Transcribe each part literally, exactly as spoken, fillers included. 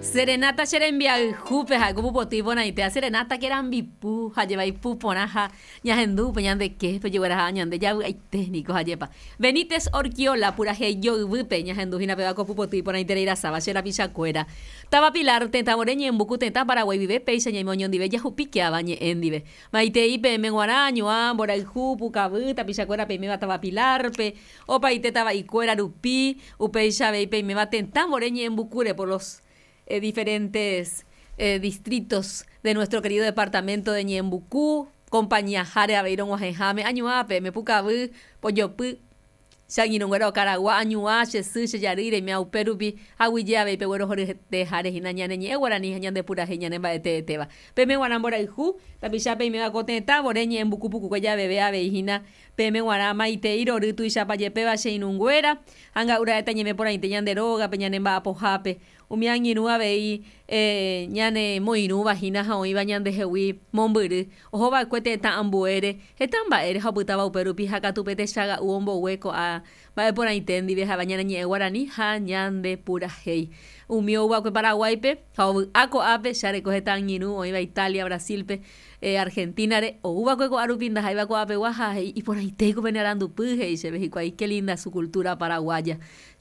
Serenata che rembiayhúpe ha'éko pupoty iporãite ha serenata che rambipu ha jevaipu porã ha ñahendúpe ñandeképe ojegueraha ñande javy'aite niko hajépa. Benítez Orquiola purahéi joyvýpe ñahendu hína péva ko pupoty iporãiterei rasáva che rapichakuéra. Táva Pilar tetãvore ñembuku tetã Paraguái guive péicha ñaime oñondive jahupíkeava ñe'ẽ ndive. Maitei peẽme g̃uarã añuã mborayhu pukavy tapichakuéra peiméva táva Pilarpe opaite tava'ikuéra rupi upéicha avei peiméva tetãvore ñe'ẽmbukúre por los eh, diferentes eh, distritos de nuestro querido departamento de Ñeembucú, compañía Jare avei rog̃uahẽháme añuã peẽme pukavy pojopy che angirũnguéra okaragua añuã che sy che jarýi reimea upérupi aguyje avei peguerohoryete hína ñane ñe'ẽ guarani ha ñande purahéi ñane mba'eteetéva. Peẽme g̃uarã mborayhu tapicha peiméva ko tetãvore ñe'ẽmbuku pukukue javeve avei hína peẽme g̃uarã maitei rory tuichapajepéva che irũnguéra ha nga'ura'éta ñeme porãite ñande rógape ñane mba'apohápe umi angirũ avei eh, ñane moirũva hína ha oĩva ñandehegui mombyry ohova'ekue tetã ambuére heta mba'ére ha opytáva upérupi ha katu pe techaga'u ombogue ko'ã mba'e porãite ndive ha'éva ñane ñe'ẽ guarani ha ñande purahéi. Umi ouva'ekue Paraguáipe ha ovy'a ko'ápe che areko heta angirũ oĩva Italia, Brasilpe, eh, Argentinare ouva'ekue ko'árupi ndaha'éiva ko'apegua ha he'i iporãitéiko pene arandupy he'i chéve hikuái qué linda su cultura paraguaya.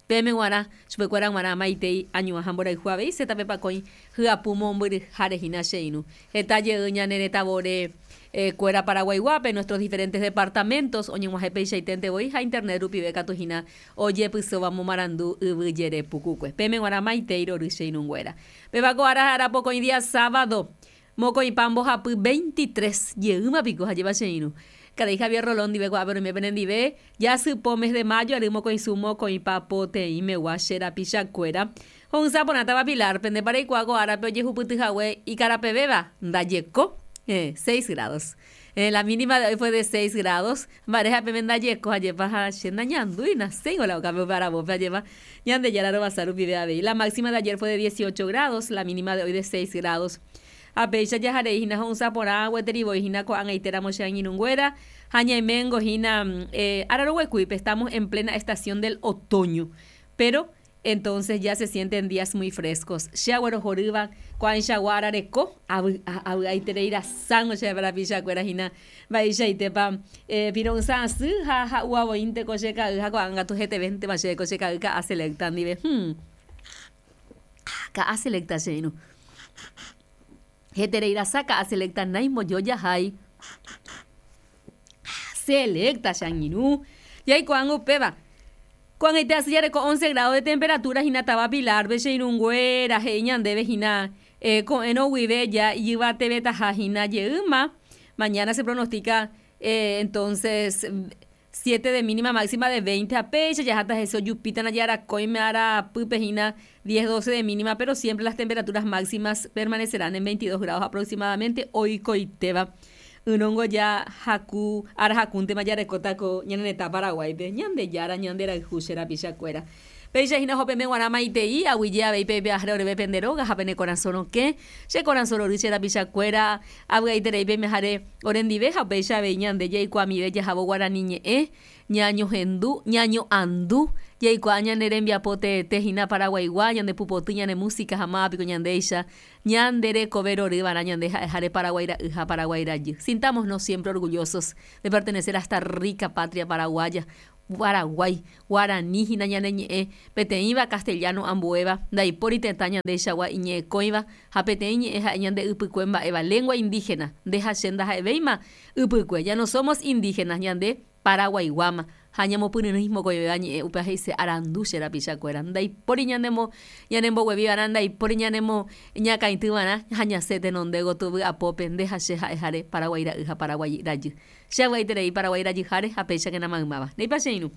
Peẽme g̃uarã chupekuéra g̃uarã maitei añuã ha mborayhu avei setapepakõi hyapu mombyryháre hína che irũ. Heta jey ñane retãvore eh, kuéra Paraguaiguápe nuestros diferentes departamentos oñeg̃uahẽ peichaiténte voi ha internet rupive katu hína ojepysóva momarandu yvy jere pukukue. Peẽme g̃uarã maitei rory che irũnguéra. Péva ko ára ára pokõi día sábado mokõipa mbohapy veintitrés jeýma piko hajéva che irũ. Karai Javier Rolón ndive ko'ápe roime penendive jasypo mes de mayo ary mokõisu mokõipa poteĩmegua che rapichakuéra. Ho'ysã porãtava Pilar pendépa reikuaa ko árape ojehupytyhague ikarapevéva ndajeko eh, seis grados. Eh, la mínima de hoy fue de seis grados. Mba'éreha peme ndajeko hajépa ha che nañandúi naséingo la okápe upe aravópe hajépa Ñandejára rovasa rupive avei. La máxima de ayer fue de dieciocho grados, la mínima de hoy de seis grados. Ha péicha jaharei hína ho'ysã porã gueterivoi hína ko'ag̃aitéramo che angirũnguéra ha ñaiméngo hína eh, araroguekuípe estamos en plena estación del otoño. Pero entonces ya se sienten días muy frescos. Che aguerohorýva ko'ãichagua arareko avy'a avy'aiterei rasángo che rapichakuéra hína mba'eichaitépa eh, piro'ysã asy ha ha'uavoínte ko che ka'y ha ko'ág̃a katu hetevéntema chéve ko che ka'y ka'a selecta ndive. Hmm. Ka'a selecta che irũ. Heterei rasa ka'a selecta naimbojojahái. Selecta che angirũ. Jaikuaángo upéva. Ko'ag̃aite asy jareko once grado de temperatura hína táva Pilarpe che irũnguéra he'i ñandéve hína eh, ko'ẽrõ guive ja ijyvatevetaha hína jeýma. Mañana se pronostica eh, entonces siete de mínima máxima de veinte ha péicha jaháta hese ojupítana jarakõime arapýpe hína diez doce de mínima, pero siempre las temperaturas máximas permanecerán en veintidós grados aproximadamente oikoitéva. Ỹrõngo ja haku ára hakúntema jarekóta ko ñane retã Paraguáipe Ñandejára ñanderayhu che rapichakuéra. Péicha hína hopeme g̃uarã maitei aguyje avei pevy'aháre oreve pende róga ha pene korasõ rokẽ che korasõ rory che rapichakuéra avy'aiterei peimeháre orendive ha upéicha avei ñande jaikuaamive jahávo guarani ñe'ẽ ñañohendu ñaño'andu jaikuaa ñane rembiapo teete hína Paraguaigua ñande pupoty ñane música ha mávapiko ñandéicha ñande rekove roryva'erã ñande ha'eháre Paraguái ra'y ha Paraguái rajy. Sintámonos siempre orgullosos de pertenecer a esta rica patria paraguaya. Paraguái, guarani hína ñane ñe'ẽ peteĩva castellano ambuéva ndaipóri tetã ñandeichagua iñe'ẽkõiva ha peteĩ ñe'ẽ ha'e ñande ypykue mba'éva lengua indígena nde ha che ndaha'evéima ypykue ya no somos indígenas ñande paraguaiguáma ha ñamopyryrỹi mokõivéva ñe'ẽ upéva he'ise arandu che rapichakuéra ndaipóri ñanemo ñanembogueviva'erã ndaipóri ñanemo ñakãityva'erã ha ñasẽ tenonde gotyo vy'apópe nde ha che ha'eháre Paraguái ra'y ha Paraguái rajy. Che avy'aiterei Paraguái rajyháre ha péichakena maymáva. Ndéipa che irũ.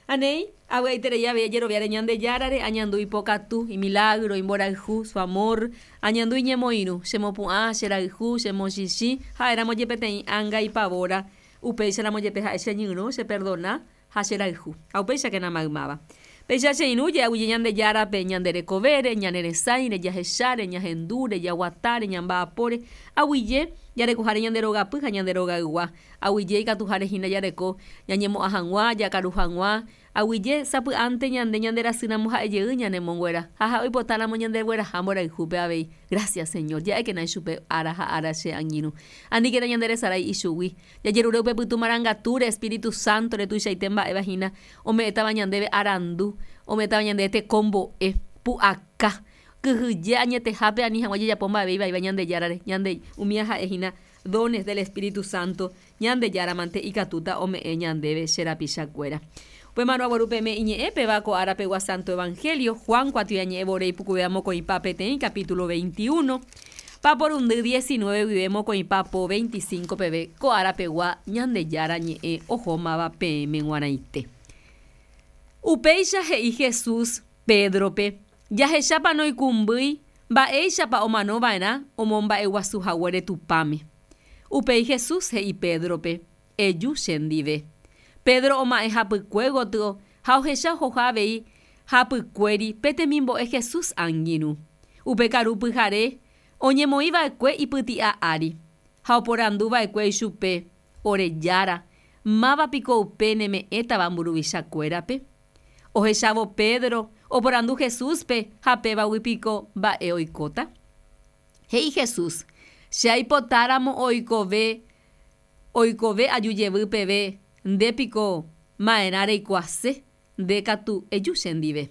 Anéi, avy'aiterei avei ajeroviáre Ñandejárare, añandu ipokatu, imilagro, imborayhu, su amor, añandu iñemoirũ, chemopu'ã, cherayhu, chemochichĩ, ha'éramo jepe peteĩ ánga ipavóra, upéicharamo jepe ha'e cheñyrõ, cheperdona ha cherayhu. Ha upéichakena maymáva. Péicha che irũ je'aguyje Ñandejárape ñande rekovére, ñane resãire, jahecháre, ñahendúre, jaguatáre, ñamba'apóre, aguyje jarekoháre ñande rogapy ha ñande rogaygua. Aguyje ikatuháre hína jareko ñañemo'ã hag̃ua, jakaru hag̃ua, Aguyje sapy'ánte ñande ñanderasýramo ha'ejey ñanemonguera ha ha'e oipotáramo ñandegueraha mborayhúpe avei. Gracias, Señor. Ja'ékena ichupe ára ha ára che angirũ. Aníkena ñanderesarái ichugui. Jajerure upe pytu marangatúre, Espíritu Santo retuichaite mba'éva hína ome'ẽtava ñandéve arandu, ome'ẽtava ñandéve tekombo'e, pu'aka, kyhyje añetehápe ani hag̃ua jajapo mba'eve ivaíva Ñandejárare. Ñande umíva ha'e hína dones del Espíritu Santo Ñandejáramante ikatúta ome'ẽ ñandéve che rapichakuéra. Upémarõ aguarupeme iñe'ẽ péva ko árapegua Santo Evangelio, Juan kuatiañe'ẽ vore ipukuvéva mokõipa peteĩ capítulo veintiuno, paporundy diecinueve guive mokõipa po veinticinco peve ko árapegua Ñandejára ñe'ẽ ohómava peẽme g̃uarãite. Upéicha he'i Jesús Pédrope, jahechápa noikũmbýi mba'éichapa omanova'erã omomba'eguasuhaguére Tupãme. Upéi Jesús he'i Pédrope, eju chendive. Pedro oma'ẽ hapykue gotyo ha ohecha ohoha avei hapykuéri pe temimbo'e Jesús angirũ. Upe karu pyhare oñemoĩva'ekue ipyti'a ári ha oporanduva'ekue ichupe, ore Jára, máva piko upe neme'ẽtava mburuvichakuérape? Ohechávo Pedro oporandu Jesúspe ha pévagui piko mba'e oikóta. He'i Jesús, che aipotáramo oikove oikove aju jevy peve nde piko ma'erã reikuaase, nde katu eju chendive.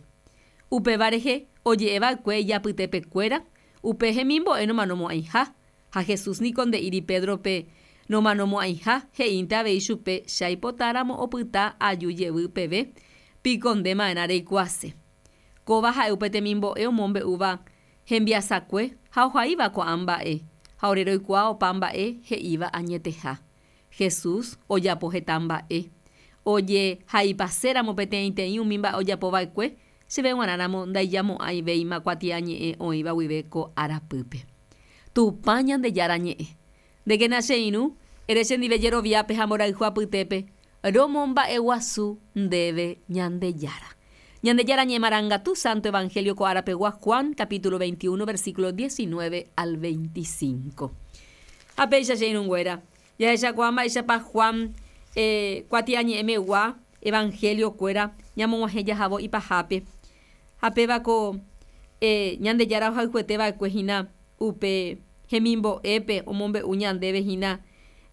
Upéva rehe oje'eva'ekue ijapytepekuéra, upe hemimbo'e nomanomo'ãiha, ha Jesús niko nde'íri Pédrope nomanomo'ãiha, he'ínte avei chupe che aipotáramo opyta aju jevy peve, piko nde ma'erã reikuaase. Kóva ha'e upe temimbo'e omombe'úva hembiasakue ha ohaíva ko'ã mba'e, ha ore roikuaa opa mba'e he'íva añeteha. Jesús ojapo heta mba'e. Ojehaipaséramo peteĩteĩ umi mba'e ojapova'ekue, chéve g̃uarãramo ndaijamo'ãivéima kuatiañe'ẽ oĩva guive ko arapýpe. Tupã Ñandejára ñe'ẽ. Ndékena che irũ, ere chendive jeroviápe ha mborayhu apytépe, romomba'eguasu ndéve Ñandejára. Ñandejára ñe'ẽ marangatu Santo Evangelio ko árapegua Juan capítulo veintiuno versículo diecinueve al veinticinco. Ha péicha che irũnguéra, jahechakuaa mba'éichapa Juan eh, kuatiañe'ẽmegua Evangelio-kuéra ñamog̃uahẽ jahávo ipahápe. Ha péva ko eh, Ñandejára ohayhueteva'ekue hína upe hemimbo'épe omombe'u ñandéve hína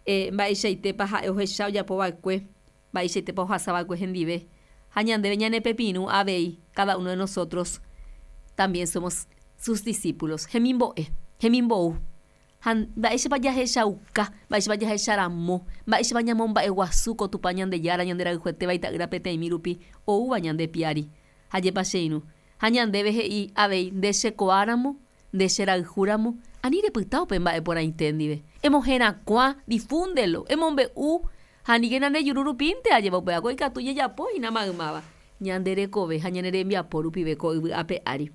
eh, mba'eichaitépa ha'e ohecha ojapova'ekue, mba'eichaitépa ohasava'ekue hendive. Ha ñandéve ñanepepirũ avei, cada uno de nosotros también somos sus discípulos. Hemimbo'e, hemimbou. Ha mba'éichapa jahechauka, mba'éichapa jahecharamo, mba'éichapa ñamomba'eguasu ko Tupã Ñandejára ñanderayhuetéva ita'ýra peteĩmi rupi oúva ñande piári. Ha jepa che irũ. Ha ñandéve he'i avei nde chekuaáramo, nde cherayhúramo, ani repyta upe mba'e porãite ndive. Emoherakuã, difúndelo, emombe'u, ha aníkena nde juru rupínte ajépa upéva ikatu jajapo hína maymáva. Ñande rekove ha ñane rembiapo rupive ko yvy ape ári.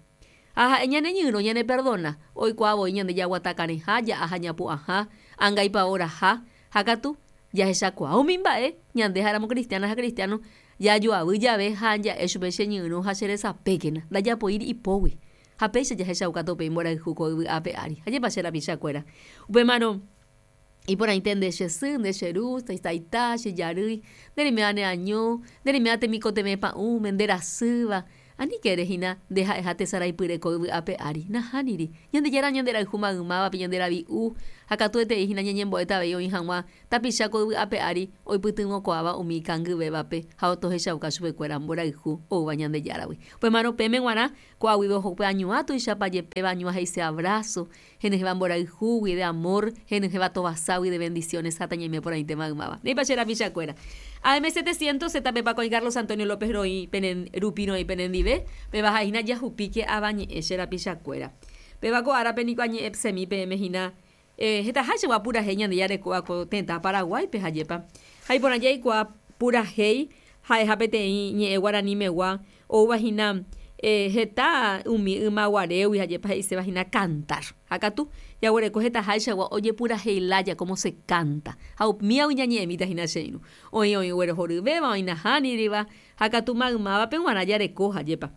Ha ha'e ñaneñyrõ ñaneperdona, oikuaa voi ñande jaguatakarẽha, ja'a ha ñapu'ãha, angaipaoraha, ha katu jahechakuaa umi mba'e ñande ha'éramo cristiana ha cristiano jajoavy jave ha ja'e chupe cheñyrõ ha cheresapékena, ndajapoíri ipógui. Ha péicha jahechauka tope mborayhu ko yvy ape ári. Ha jepa che rapichakuéra. Upémarõ iporãite nde che sy, nde che ru, taita, che jarýi, nde reiméva neaño, nde reiméva temikotevẽ pa'ũme, nde rasýva, aníke ere hína nde ha'eha tesaraipyre ko yvy ape ári. Nahániri. Ñandejára ñanderayhu maymávape ñanderavi'u, ha katuetei hína ñañembo'éta avei oĩ hag̃ua tapicha ko yvy ape ári oipytyvõkuaáva umi ikangyvévape ha tohechauka chupekuéra mborayhu oúva Ñandejáragui. Upémarõ péme g̃uarã ko'águive oho upe añuã tuichapa jepéva añuã he'ise abrazo, henyhẽva mborayhúgui de amor, henyhẽva tovaságui de bendiciones ha tañaime porãite maymáva. Ndéipa che rapichakuéra. A M setecientos Z P Paco y Carlos Antonio López roĩ penen rupi roĩ penendive, péva ha'ehína jahupíke avañe'ẽ che rapichakuéra. Péva ko árape niko añe'ẽ semi peẽme hína eh, hetaháichagua purahéi Ñandejára rekóva ko tetã Paraguáipe hajépa. Ha iporã jaikuaa purahéi ha'eha peteĩ ñe'ẽ guaranimegua oúva hína eh, heta umi ymaguarégui hajépa he'iséva hína cantar. Ha katu jaguereko hetaháichagua ojepurahéi como se canta. Ha umíagui ñañe'ẽmíta hína che irũ. Oĩ oĩ oguerohoryvéva, oĩ nahániriva, ha katu maymávape g̃uarã jareko hajépa.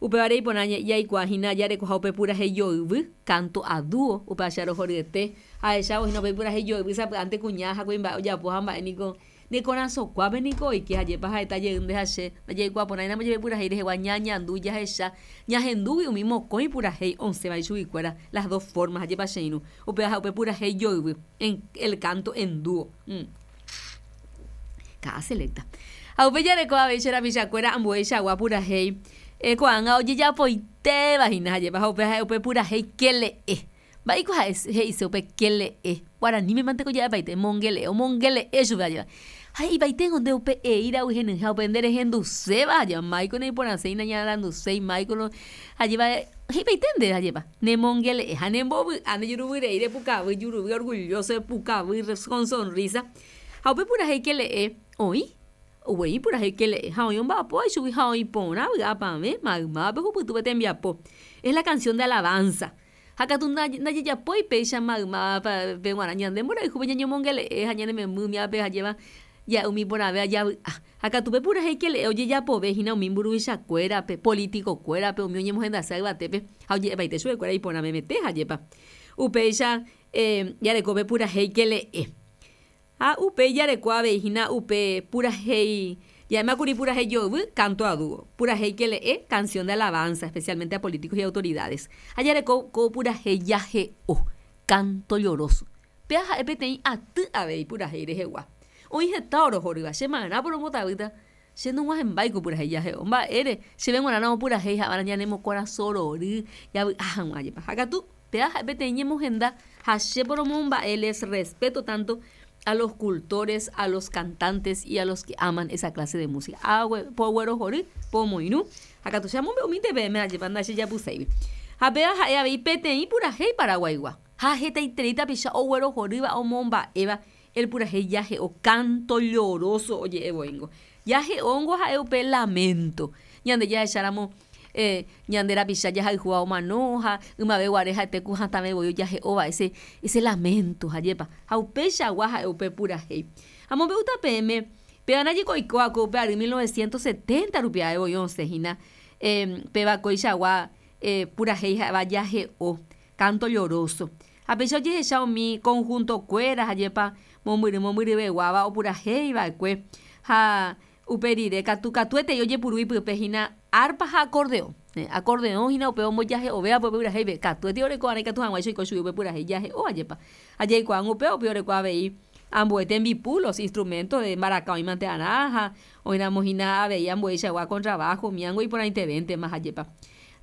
Upévare iporã jaikuaa hína jarekoha upe purahéi joyvy, canto a dúo, upéva che arohoryete. Ahechávo hína upe purahéi joyvy sapy'ánte kuña ha kuimba'e ojapo ha mba'e niko Nekorasõkuápe niko oike hajépa ha'éta jeýnte ha che ndajaikuaaporãiramo jepe purahéi rehegua ñañandu jahecha ñahendúgui umi mokõi purahéi osẽva ichuguikuéra las dos formas hajépa che irũ upéva ha upe purahéi joyvy en el canto en dúo. Mm. Ka'a selecta. Ha upe jareko avei che rapichakuéra ambueichagua purahéi eh, ko'ág̃a ojejapoitéva hína hajépa ha upe ha'e upe purahéi kele'e. Mba'éiko ha'e he'ise upe kele'e guaraníme mante ko ja'epaite mongele'e omongele'e chupe hajépa. Ha he'ipaiténgo nde upe eíragui henyhẽ upe nderehenduséva hajépa máiko naiporãséi nañaranduséi máiko no hajépa he'ipaite ndéve hajépa nemongele'e ha nembovy'a ndejuruvyrei repukavy juruvy orgulloso epukavy con sonrisa ha upe purahéi kele'e oĩ oguei purahéi kele'e ha oĩ omba'apóva ichugui ha oĩ porã vy'apavẽ maymávape ohupytýpe tembiapo. Es la canción de alabanza. Ha katu ndajejapói péicha maymávape g̃uarã ñande mborayhúpe ñañomongele'e ha ñanememby hajéva ja'e umi porãve javy'a. Ha katu pe purahéi kele'e ojejapovehína umi mburuvichakuérape, politicokuérape, umi oñemohendase yvatépe ha oje'epaite chupekuéra iporãmemete hajépa. Upéicha eh, jareko pe purahéi kele'e. Ha upéi jareko avei hína upe purahéi ja'émakuri purahéi joyvy, canto a dúo. Purahéi kele'e, canción de alabanza, especialmente a políticos y autoridades. Ha jareko ko purahéi jahe'o, canto lloroso. Péa ha'e peteĩ aty avei purahéi rehegua. Oĩ heta orohorýva, che marãpo rombotavýta, che nog̃uahẽmbáiko purahéi jahe'o. Mba'ére, chéve g̃uarãramo purahéi ha'éva ñanemokorasõ javy'a hag̃ua jepa. Ha katu péa ha'e peteĩ ñemohenda ha che poromomba'e les respeto tanto a los cultores, a los cantantes y a los que aman esa clase de música. Poguerohory, pomoirũ, ha katu che amombe'umínte peẽme ajépa ndachejapyséigui. Ha péa ha'e avei peteĩ purahéi paraguaigua. Ha hetaiterei tapicha oguerohorýva omomba'éva el purahéi jahe'o, canto lloroso oje'evoíngo. Jahe'óngo ha'e upe lamento. Ñande jahecháramo eh, ñande rapicha jahayhúva omano ha ymave guare ha'ete ku hatãve voi ojahe'óva ese, ese lamento hajépa. Ha upeichagua ha'e upe purahéi. Amombe'úta peẽme péva ndaje oiko upe ary mil novecientos setenta rupi ae voi osẽhína eh, péva koichagua eh, purahéi ha'éva jahe'o, canto lloroso. Ha péicha ojehecha umi conjuntokuéra hajépa mombyry mombyryveguáva opurahéiva'ekue ha upe rire katu katuetei ojepuru ipype hína arpa ha acordeón. Eh, acordeón hína upe ombojahe'ovéva upe purahéipe katuete oreko arã ikatu hag̃uáicha oiko chugui upe purahéi jahe'o ajépa. Ha jaikuaág̃a upéva upe oreko avei ambue tembipu los instrumentos de mbaraka oĩmante arã ha oĩramo hína avei ambueichagua contrabajo umiango iporãitevéntema hajépa.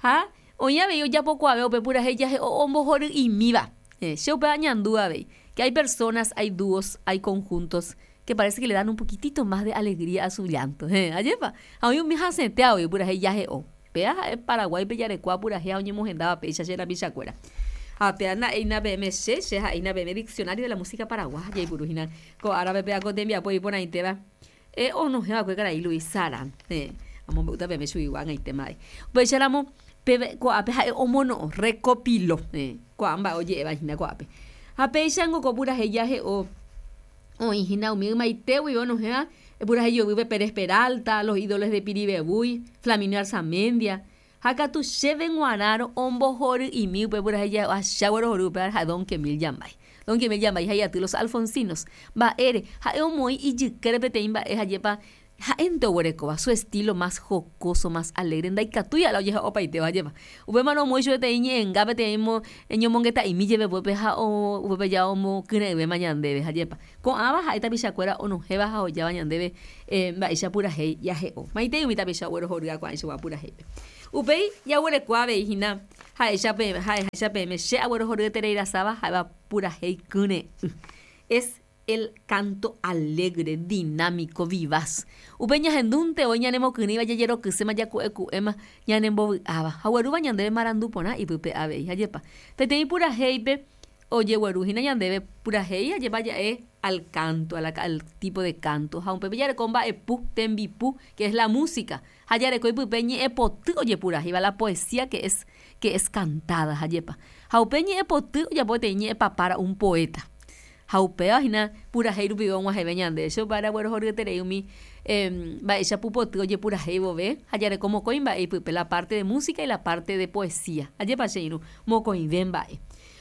Ha oĩ avei ojapokuaave upe purahéi jahe'o ombohory'imíva. Eh, che upe añandu avei que hay personas, hay dúos, hay conjuntos que parece que le dan un poquitito más de alegría a su llanto. Eh, ajépa. Ha oĩ umi hasẽte avei purahéi jahe'o. Péa ha'e Paraguáipe jarekua purahéi ha oñemohendáva péicha che rapichakuéra. Ha péa nda'éina peẽme che, che ha'éina peẽme diccionario de la música paraguaya jaipuru hína ko árape péa ko tembiapo iporãitéva eh, onohẽva'ekue karai Luis Saran. Eh, amombe'úta peẽme chuguigua ag̃aitéma avei. Upéicharamo péve ko'ápe ha'e omono'õ recopiló. Eh, ko'ã mba'e oje'éva hína ko'ápe. Ha péichango ko purahéi jahe'o oĩ hína umi ymaite guive onohẽva purahéi joyvýpe Pérez Peralta, Los Ídolos de Piribebuy, Flaminio Arzamendia. Ha katu chéve g̃uarãrõ ombohory'imi upe purahéi jahe'o acha guerohory upéva ha'e Don Kemil Yambay. Don Kemil Yambay ha iaty Los Alfonsinos. Mba'ére ha'e omoĩ ijykére peteĩ mba'e hajépa ha'énte oguerekóva su estilo más jocoso, más alegre, ndaikatúi ala ojehe'opaitéva hajépa. Upémarõ omoĩ chupe peteĩ ñe'ẽnga peteĩ ñomongeta'imi jeve upépe ha upépe ja omokyre'ỹvéma ñandéve hajépa. Ko'ãva ha'e tapichakuéra onohẽva ha ojáva ñandéve eh, mba'éicha purahéi jahe'o. Maitei umi tapicha oguerohorýva ko'ãichagua purahéipe. Upéi jaguereko avei hína ha'éicha peẽme ha'eháicha peẽme che aguerohoryetereirasáva ha'éva purahéi kyre'ỹ. Es el canto alegre, dinámico, vivaz. Upe ñahendúnte voi ñanemokyrỹiva jajerokyséma jaku'eku'éma ñanembovy'áva. Ha oguerúva ñandéve marandu porã ipype avei hajépa. Peteĩ purahéipe ojegueru hína ñandéve purahéi hajépa ja'e al canto, a la, al tipo de canto. Ha upépe jareko mba'epu, tembipu, que es la música. Ha jareko ipype ñe'ẽpoty ojepurahéiva, la poesía que es, que es cantada hajépa. Ha upe ñe'ẽpoty ojapo peteĩ ñe'ẽpapára un poeta. Ha upéva hína purahéi rupive og̃uahẽve ñande. Che upévare aguerohoryeterei umi eh, mba'éicha pupoty ojepurahéi vove ha jareko mokõi mba'e ipype, la parte de música y la parte de poesía. Ajépa che irũ mokõive mba'e.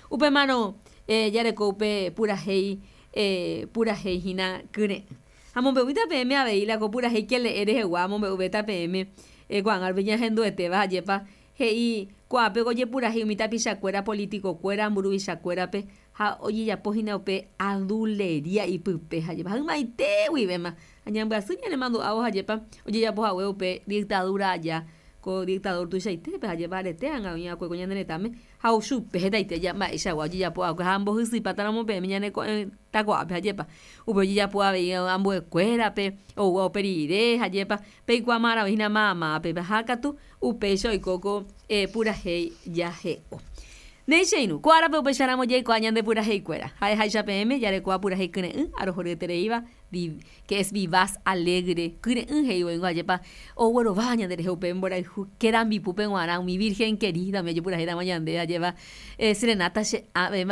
Upémarõ eh, jareko upe purahéi eh, purahéi hína kyre'ỹ. Amombe'úita peẽme avei la ko purahéi kele'e rehegua amombe'uvéta peẽme ko'ág̃a ñahenduetéva hajépa he'i ko'ápe ojepurahéi umi tapichakuéra politicokuéra mburuvichakuérape ha ojejapohína upe aduleria ipype hajépa hymaite guivéma ha ñambyasy ñanemandu'ávo hajépa ojejapohague upe dictadura aja ko dictador tuichaitépe hajépa arete ág̃a oĩakue ko ñane retãme ha ochupe hetaite mba'eichagua ojejapo'akue ha mbohysyipátaramo peẽme ñane ko'ẽta ko'ápe hajépa upe ojejapo avei ambuekuérape oúva upe rire hajépa peikuaamaraohína mamápe ha katu upéicha oiko ko purahéi jahe'o. Néi ko árape upéicharamo jaikuaa ñande puraheikuéra ha'eháicha peẽme jarekóva purahéi kyre'ỹ arohoryetereíva que es vivaz alegre kyre'ỹ he'i ajépa oguerova ñanderehe upe mborayhu kerambipúpe g̃uarã umi virgen querida umi ojepurahéiramo ñande ajépa serenata che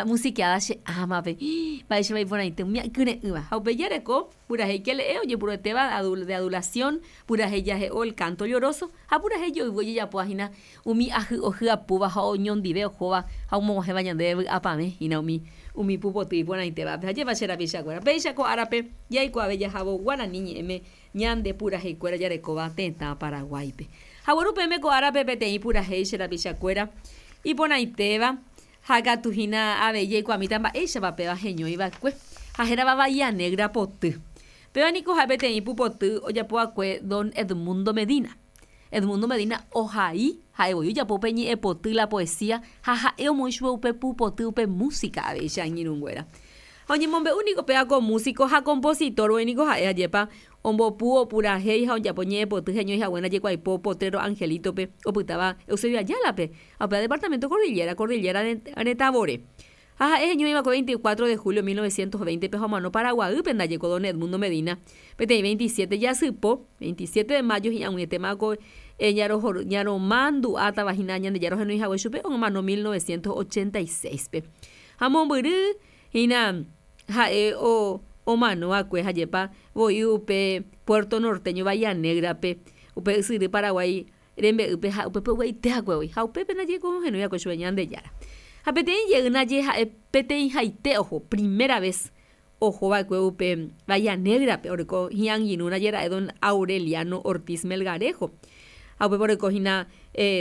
musiqueada che ámape mba'éichapa iporãite umi kyre'ỹva ha upe jareko purahéi kele'e ojepuruetéva de adulación purahéi jahe'o el canto lloroso ha purahéi joyvy ojejapohína umi ahy'o hyapúva ha oñondive ohóva ha omog̃uahẽva ñandéve vy'apavẽ umi umi pupoty iporãitévape hajépa che rapichakuéra péicha ko árape jaikuaave jahávo guarani ñe'ẽme ñande puraheikuéra jarekóva tetã Paraguáipe ha guarupéme ko árape peteĩ purahéi che rapichakuéra iporãitéva ha katu hína avei jaikuaamíta mba'éichapa péva heñoiva'ekue ha hérava Bahía Negra poty péva niko ha'e peteĩ pupoty ojapo'akue don Edmundo Medina. Edmundo Medina ohai ha'evoi ojapo upe ñe'ẽpoty la poesía ha ha'e omoĩ chupe upe pupoty upe música avei che angirũnguéra. Ha oñemombe'u niko péva ko músico ha compositor niko ha'e ajépa ombopu opurahéi ha ojapo ñe'ẽpoty heñoihague ndaje Potrero Angelitope opytáva Eusebio Ayalape ha upéva departamento Cordillera, Cordillera retãvore. Ha ha'e heñoiva'ekue veinticuatro de julio mil novecientos veinte pe ha omano Paraguaýpe ndaje ko don Edmundo Medina peteĩ veintisiete jasypo veintisiete de mayo hi'ag̃uietéma ko ñaromandu'átava hína Ñandejára ohenóihague chupe omano mil novecientos ochenta y seis pe. Ha mombyry hína ha'e omano'akue hajépa voi upe Puerto Norteño Bahía Negrape upe ysyry Paraguái rembe'ýpe ha upépe ogueite'akue voi ha upépe ndaje ko ohenói'akue chupe Ñandejára. Ha peteĩ jey ndaje ha'e peteĩhaite oho primera vez ohova'ekue upe Bahía Negrape oreko hi'angirũ ndaje ra'e don Aureliano Ortiz Melgarejo. Ha upépe oreko hína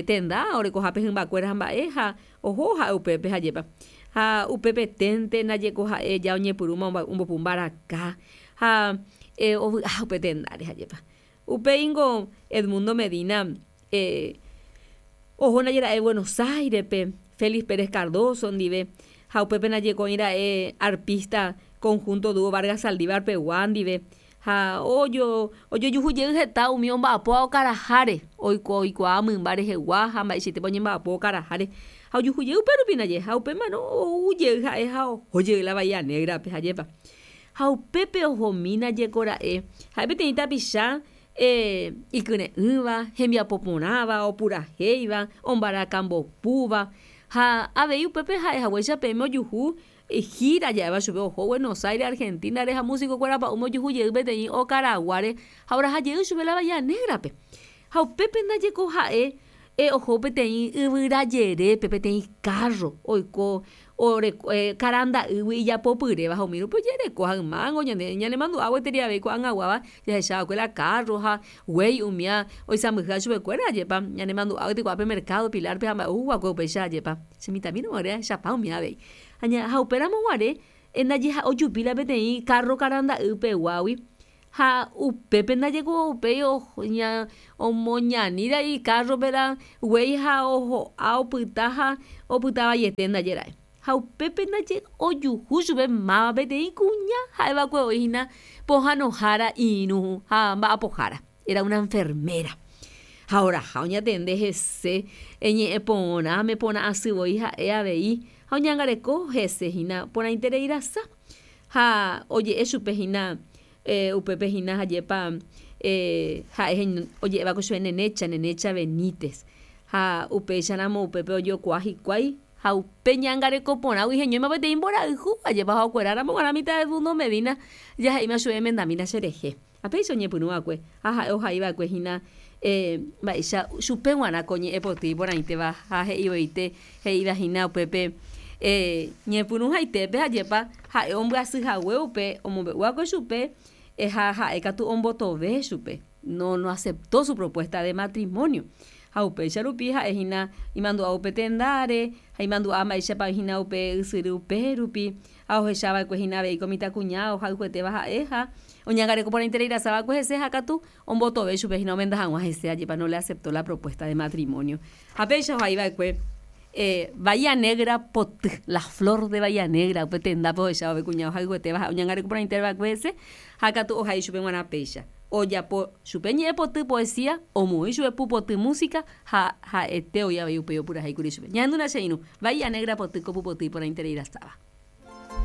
tenda orekohápe hymbakuéra ha mba'e ha oho ha'e upépe hajépa. Ha upepeténte ndaje ko ha'e ja oñepyrũma ombopu mbaraka ha ovy'a upe tendáre hajépa. Upéingo Edmundo Medina oho ndaje ra'e Buenos Airespe Félix Pérez Cardoso ndive ha upépe ndaje ko oĩra'e arpista conjunto dúo Vargas Saldívar pegua ndive ha ojo ojojuhujey heta umi omba'apóva okaraháre oiko oikuaa mymba rehegua ha mba'eichaitépa oñemba'apo okaraháre ha ojuhujey upérupi ndaje ha upémarõ oujey ha'e ha ohojey la Bahía Negrape hajépa. Ha upépe ohomi ndaje kora'e ha'e peteĩ tapicha ikyre'ỹva hembiapo porãva opurahéiva ombarakambopúva ha avei upépe ha'ehaguéicha peẽme ojuhu gira ja'éva chupe oho Buenos Aires, Argentina reha músico-kuérapa umi ojuhujey peteĩ okaraguáre ha orahajey chupe la Bahía Negrape. Ha upépe ndaje ko ha'e oho peteĩ yvyrajerépe peteĩ carro oiko oreko karanda'ýgui ijapopyréva ha umi rupi ojereko ha ymángo ñande ñanemandu'a gueteri avei ko'ag̃aguáva jahechava'ekue la carro ha guéi umía oisãmbyhýva chupekuéra ajépa ñanemandu'a gueteri ko'ápe mercado Pilarpe ha mba'e oúva'ekue upéicha ajépa che mitãmi roguare ahechapa umi avei. Ha upéramo guare ndaje ojupi la peteĩ carro karanda'ypeguágui ha upépe ndaje ko upéi omoñaníra'e icarrope la guéi ha oho'a opyta ha opytavaiete ndaje ra'e. Ha upépe ndaje ojuhu chupe máva peteĩ kuña ha'eva'ekue oĩhína pohãnohára irũ ha mba'apohára era una enfermera. Ha oraha oñatende hese ñe'ẽ porãme porã asy voi ha'e avei ha oñangareko hese hína porãitereirasa ha oje'e chupe hína upépe hína hajépa ha'e oje'éva'ekue chupe Nenecha, Nenecha Benítez ha upéicharamo upépe ojokuaa hikuái ha upe ñangareko porãgui heñóima peteĩ mborayhu ajépa ha okueráramo g̃uarã mitã Edmundo Medina jahe'íma chupe emendamína cherehe. Ha péicha oñepyrũva'ekue ha ha'e ohaiva'ekue hína mba'éicha chupe g̃uarã ko ñe'ẽpoty iporãitéva ha he'ivoite he'íva hína upépe ñepyrũhaitépe hajépa ha'e ombyasyhague upe omombe'uakue chupe Ha ha'ékatu ombotove chupe, no no aceptó su propuesta de matrimonio. Ha upéicha rupi ha'ehína imandu'a upe tendáre ha imandu'a mba'éichapa hína upe ysyry upérupi ha ohechava'ekue avei ko mitãkuña ohayhuetéva ha'e ha oñangareko porãitereirasava'ekue hese ha katu ombotove chupe hína omenda hag̃ua hese ajépa no le aceptó la propuesta de matrimonio. Ha péicha ohaiva'ekue eh, Bahía Negra poty, la flor de Bahía Negra upe tendápe ohecháva kuña ohayhuetéva ha oñangareko porãitereva'ekue hese ha katu ohai chupe g̃uarã péicha. Ojapo chupe ñe'ẽpoty poesía omoĩ chupe pupoty música ha ha'ete oĩ avei upéi opurahéikuri chupe. Ñahendúna che irũ Bahía Negra poty ko pupoty iporãitereirasáva.